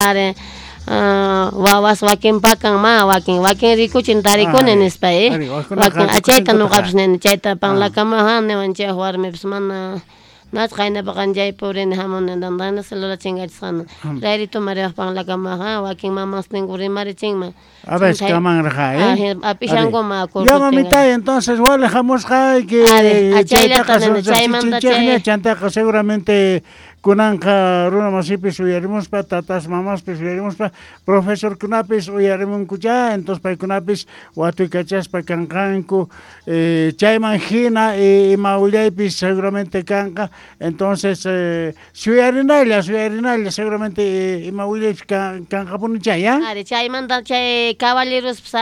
Are wawas wakin pakan ma wakin wakin rikuchin tarikuni nispa eh wakin chayta noqapis nini chayta panlakama niwan chay warmipis mana nach qaynapaqa chay purini jamuni dandana celular chinkachisqana rayrito mariwaj panlakama wakin mamasninku rimarichinman. A ver, kamanraja, eh? Apishankuma Ya mamita, entonces wale jamusqayki chaytaqa chaymanta chantaqa seguramente kunanqa runa masipis uyarimuspa tatas mamaspis uyarimuspa profesorkunapis uyarimunkucha entonces paykunapis watuykachaspa kanqanku chayman hina ima willaypis seguramente kanqa entonces suyarinalla suyarinalla seguramente ima willaypis kanqapuni chay ya. Ari chaymanta chay caballerospis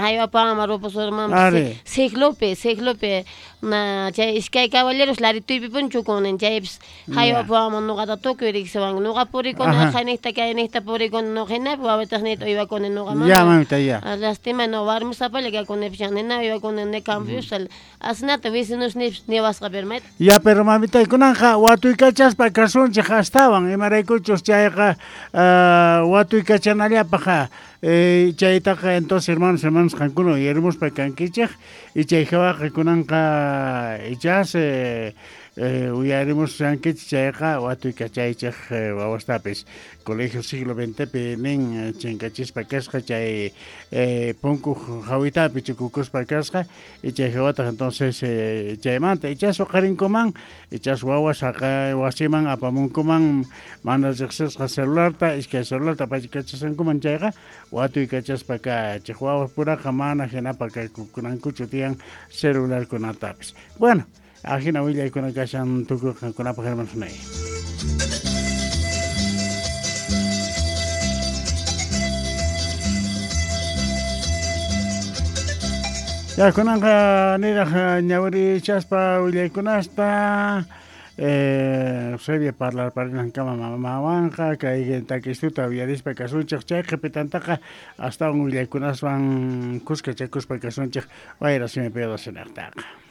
haywapawanman rupusurmanpis siglopi siglopi na chay iskay caballeros larituypipuni chukunin chaypis haywapawanman noqata tukuy riqsiwanku noqa purikuni aqhaynejta kaynejta purikuni noqa hinapi wawitasniyta uywakuni noqa mana. Ya mamita ya. Lastima no warmisapalla kakunipis nina uywakuni ni campoypis asinata vecinosniypis niwasqa pero mayta. Ya pero mamita kunanqa watuykachaspa kasunchej astawan imaraykuchus chayqa watuykachanallapaj chaytaqa entonces hermanos hermanos qankuna uyarimuspa kankichej y chay jawaqa kunanqa ichas uyarimushankichej chayqa watuykachaychej wawastapis colegio siglo XXpi nin chinkachispa kasqa chay punku jawitapi chukukuspa kasqa y chay jawataq entonces chaymanta ichas uqharinkuman ichas wawas haqay wasiman apamunkuman mana riqsisqa celularta iskay celularta apaykachasqankuman chayqa watuykachaspa kachej wawas puraqa mana hinapa kaykukunankuchu tiyan celularkunatapis. Bueno, ajina willaykuna kashan tukuy qankunapaj hermanos. Ya kunanqa niraj ñawirichaspa willaykunasta Eusebia parlarparinankama mamawanqa kay takistuta uyarispa kasunchej chay qhipitantaqa astawan willaykunaswan kuskachakuspa kasunchej wayra simipi docenejtaqa.